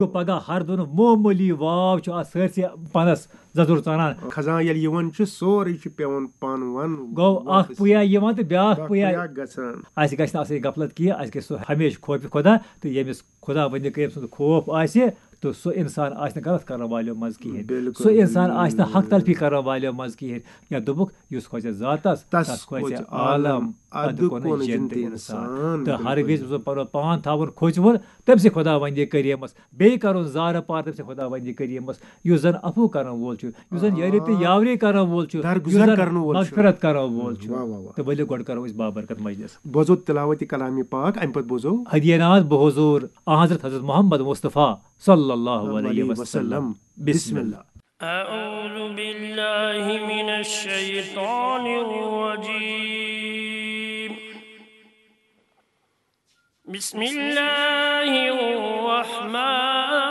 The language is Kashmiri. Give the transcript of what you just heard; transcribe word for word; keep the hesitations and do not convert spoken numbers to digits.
گوٚو پگاہ ہر دۄن معموٗلی واو چھُ اَتھ سٲرسٕے پَنَس زَزُر ژَنان۔ خزان ییٚلہِ یِوان چھُ، سورُے چھُ پٮ۪وان پَن وَن گوٚو اَکھ واپس۔ پُیا یِوان تہٕ بیٛاکھ اَکھ پُیا۔ پُیا گژھان۔ اَسہِ گژھِ نہٕ آسٕنۍ غفلت کینٛہہ، اَسہِ گژھِ سُہ ہمیشہِ خوفِ خۄدا، تہٕ ییٚمِس خۄداوندِ کریم سُنٛد خوف آسہِ، تہٕ سُہ اِنسان آسہِ نہٕ غلط کرن والیو منٛز کِہیٖنۍ۔ بِلکُل، سُہ اِنسان بِلکُل۔ آسہِ نہٕ حق تلفی کرن والیو منٛز کِہیٖنۍ۔ یا دوٚپُکھ، یُس کھوژِ ذاتس، تس تس کھوژِ کھوژِ عالم، عالم، ادٕ ادٕ کونہِ کونہِ جنتِ جنتِ اِنسان۔ اِنسان۔ تہٕ ہر بِلکُل۔ وِزِ یُس زن پنُن پان تھاوُن کھوژوُن، تٔمۍ سٕے خۄداوندِ کریمس، بیٚیہِ کرُن زارٕ پار تٔمۍ سٕے خۄداوندِ کریمس، یُس زن عفو کرن وول چھُ، یُس زن یٲری تہٕ یاوری کرن وول چھُ، درگُزر یُس زن کرن وول چھُ۔ مغفرت کرن وول چھُ۔ واہ، واہ، واہ۔ تہٕ ؤلِو گۄڈٕ کرو أسۍ بابرکت مجلس۔ بوزو تلاوت کلام پاک، امہِ پتہٕ بوزو۔ ہدیناز بہٕ حضور حضرت حضرت محمد مصطفیٰ صلی اللہ علیہ علیہ وسلم۔ وسلم۔ بسم اللہ۔ أعوذ بالله من الشيطان الرجيم. بسم الله الرحمن